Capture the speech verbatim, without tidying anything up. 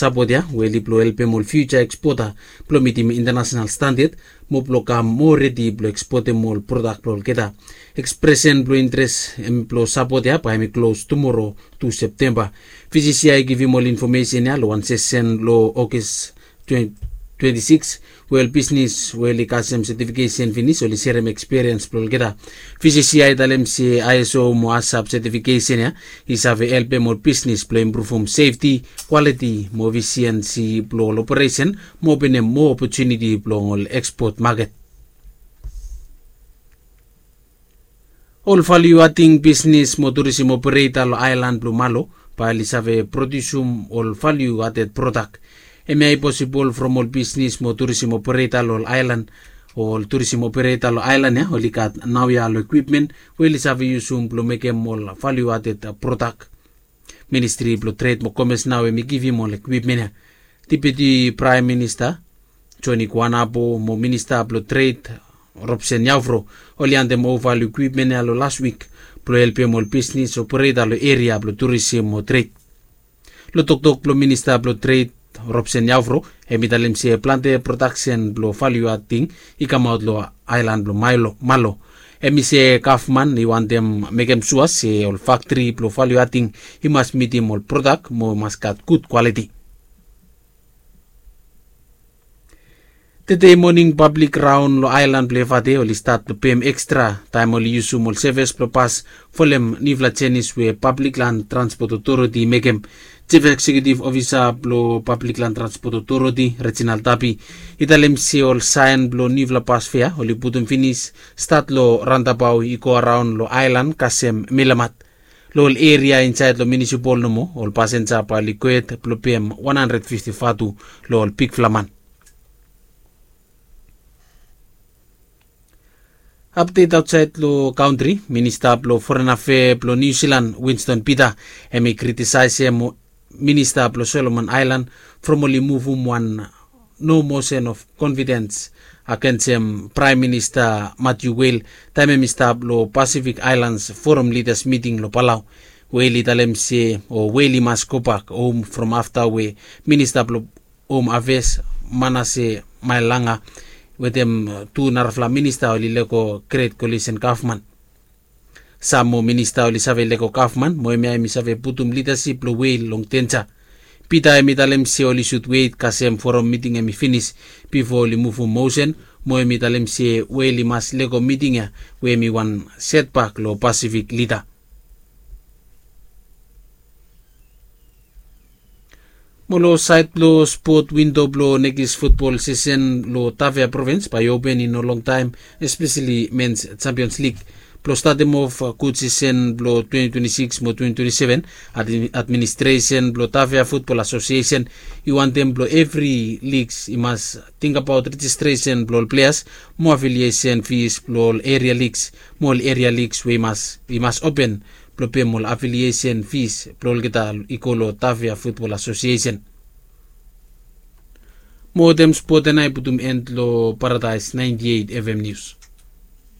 sapot ya we oli blong helpem ol fiuja ekspota blong mitim intanasenal standad mo blong kam moa redi blong ekspotem ol prodak blong olgeta. Ekspresen blong interes blong sapot ya bae hemi klos tumoro, tu Septemba. Vcci i givim ol infomesen ya long wan sesen long Ogos twenti sikis, we ol bisnes we oli kasem setifikesen finis oli serem ekspiriens blong olgeta. Vcci i talem se iso mo asap setifikesen ya i save helpem ol bisnes blong impruvum sefti, kwaliti mo efisiensi blong ol operesen mo openem moa opotuniti blong ol ekspot maket. Ol valiu ading bisnes mo turisim opereta long aelan blong Malo bae oli save prodiusum ol valiu aded prodak. Hemia i posibol from ol bisnes mo turisim opereta long ol aelan o ol turisim opereta long aelan ya oli gat naoia long ekwipmen we oli save yusum blong mekem ol valiu aded prodak. Ministri blong Tred mo Komes nao hemi givim ol ekwipmen ya. Dipiuti Praem Minista Joni Kuanapo mo Minista blong Tred Robsen Yaufro oli handem ova ol ekwipmen ya long las wik blong helpem ol bisnes opereta long eria blong turisim mo tred. Long toktok blong Minista blong Tred Robsen Yaufro, hemi talem se plante prodaksen blong valiu ading i kamaot long aelan blong Malo. Hemi se gavman i wantem mekem sua se ol faktri blong valiu ading i mas mitim ol prodak mo mas gat gud kwaliti. Tede moning pablik raon long aelan blong Efate oli stat blong pem ekstra taem oli yusum ol sevis blong pas folem niufala jenis we Pablik Lan Transpot Otoriti i mekem. Jif Eksekiutif Ofisa blong Pablik Lan Transpot Otoriti, Reginald Tapi, i talem se ol saen blong niufala pas fea oli putum finis stat long raondabao i go araon long aelan kasem Milamat. Long ol eria insaed long miunisipol nomo ol pasenja bae oli gohed blong pem wan handred fifti vatu long ol bigfala man. Apdet aotsaed long kantri, Minista blong Foren Afea blong Niu Silan, Winston Peter, hemi kritisaesem Minista blong Solomon Aelan from oli muvum wan no mosen of konfidens agensem Praem Minista Matiu Wel taem hemi stap long Pasifik Aelans Foram Lidas miting long Palau. Wel i talem se o Wel i mas gobak hom from afta we Minista blong Hom Afeas Manase Maelanga wetem tu narafala minista oli lego Gret Kolisen gavman. Sam moa minista oli save lego gavman mo hemia hemi save putum lidasip blong Wel long denja. Pita hemi talem se oli sud wet kasem foram miting hemi finis bifo oli muvum mosen mo hemi talem se Wel i mas lego miting ya we hemi wan setbak long Pasifik lida. Mo long saed blong spot, windo blong nekis futbol sisen long Tafea provins bae i open i no longtaem, espeseli Mens Champions Lig. Blong statem of gud sisen blong twenti twenti sikis mo twenti twenti seven, administresen blong Tafea Futbol Asosiesen i wantem blong evri ligs i mas tingbaot rejistresen blong ol pleas mo afiliesen fis blong ol eria ligs mo ol eria ligs we i mas open blong pem ol afiliesen fis blong olgeta i go long Tafea Futbol Asosiesen. Mo wetem spot ya nao i putum en long Paradaes naenti eit F M Nius.